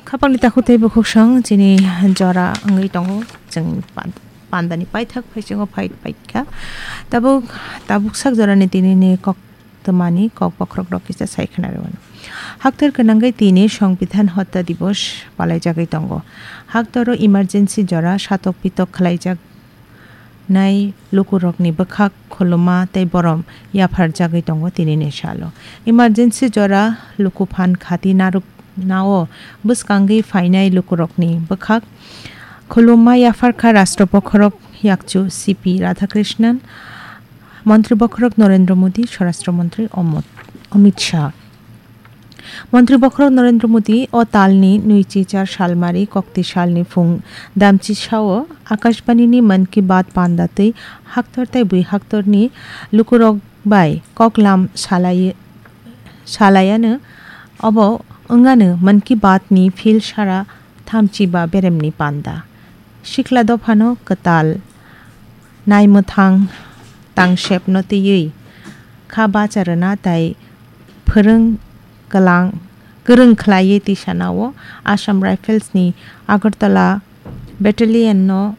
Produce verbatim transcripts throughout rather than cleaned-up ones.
Khapangni takhuk tei bukhuksong chini jora wngwi tongo. Chwng pan-, pandani paithak phaisingo phai paikha. Tabuk, tabuk sak jorani tinini kok twmani kok bokhorok rok kisa sai khna rw. Haktor gwnangwi tini Songbidan Hotta Divos palaijagwi tongo. Haktoro emergency jora satok pitok khlaijak nai lukurokni bwkhak khuluma tei borom yapharjagwi tongo tinini salo. Emergency jora luku phan khati narwknao bwskangwi phainai lukurokni bwkhak khuluma yapharkha Rashtra Bokhorok Yakchu C P Radhakrishnan, Montri Bokhorok Narendra Modi, Swarashtra Montri Omot-, Amit Shah. Montri Bokhorok Narendra Modi o talni nwichi char salmari kokti salni phung damchi sao Akashbanini Mann Ki Baat panda twi haktor tei bui haktorni lukurok bai koklam salai-, salaiano obo wngano Mann Ki Baat ni phil sara thamchi ba beremni panda. Sikla dophano kwtal naimwthang tangsepno twiwi kha bacha rwna tai phwrwng kwlang, kwrwng khlaiwi tisanao Assam Rifles ni Agartala Battalion no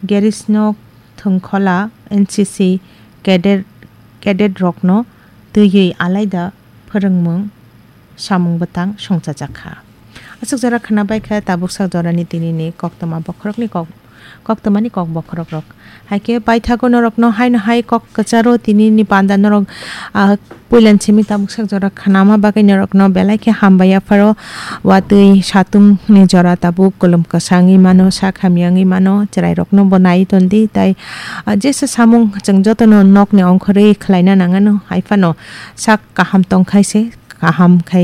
Gerisno thwngkhola N C C cadet, cadet rokno twiwi alaida phwrwngmung samung bwtang songchajak kha. Aswk jora khwna bai kha tabuk sak jorani tinini koktwma bokhorokni kok, koktwmani kok bokhorok rok. Hai khe paithago norokno haino hai kok kwcharo tinini panda norok, ah, puilan simi tabuk sak jora khwnama bagwi norokno belai khe hambai yapharo. Watwi satung ni jora tabuk kolom kwsangwi mano, sak hamya wngwi mano, chwrai rokno bo nai tondi tai, ah, jesa samung chwng jotono nokni ongkhorwi khwlaina nangano hai phano sak kaham tongkhai se kaham khai